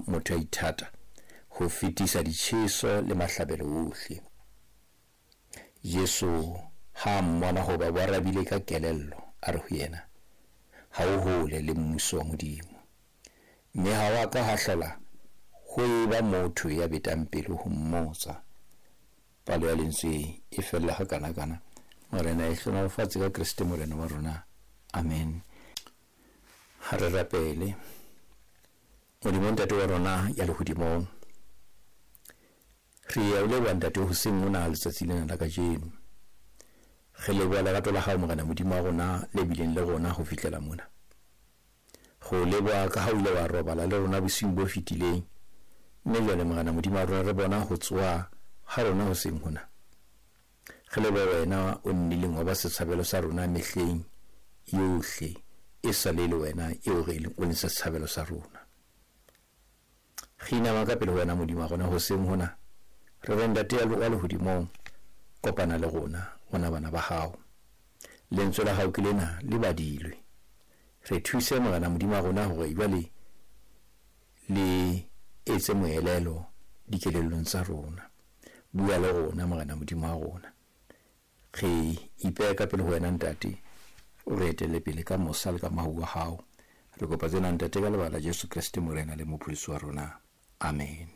motho a ithata, ho fetisa ditjheso le mahlabelo wohle. Jesu ha a mmona hoba bo arabile ka kelello, a re ho yena, Ha o hole le mmuso wa Modimo. Mme ha wa ka ha hlola ho eba motho ya betang pelo ho mmotsa. Palo ya lentswe e fella ha kana-kana. Morena e hlohonolofatse ka Kreste Morena wa rona. Amen. Ha re rapele. Modimo Ntate wa rona ya lehodimong, re ya o leboha Ntate hoseng mona letsatsi lena la kajeno. Re leboha lerato la hao Morena Modimo wa rona le bileng le rona ho fihlela mona. Re o leboha ka ha o ile wa robala le rona bosiung bo fetileng, mme jwale Morena Modimo wa rona re bona ho tsoha ha rona hoseng hona. Re leboha wena o nnileng wa ba setshabelo sa rona mehleng yohle e sa le le wena eo re o leng setshabelo sa rona. Re inama ka pele ho wena Modimo wa rona hoseng hona, re re Ntate wa lehodimong, kopana le rona, rona bana ba hao. Lentswe la hao ke lena le badilwe. Re thuse Morena Modimo wa rona hore jwale le etse moelelo dikelellong tsa rona. Bua le rona Morena Modimo wa rona. Re ipeha ka pele ho wena Ntate, o re etelle pele ka mosa le ka mohau wa hao. Re kopa tsena Ntate ka lebaka la Jesu Kreste Morena le Mopholosi wa rona. Amen.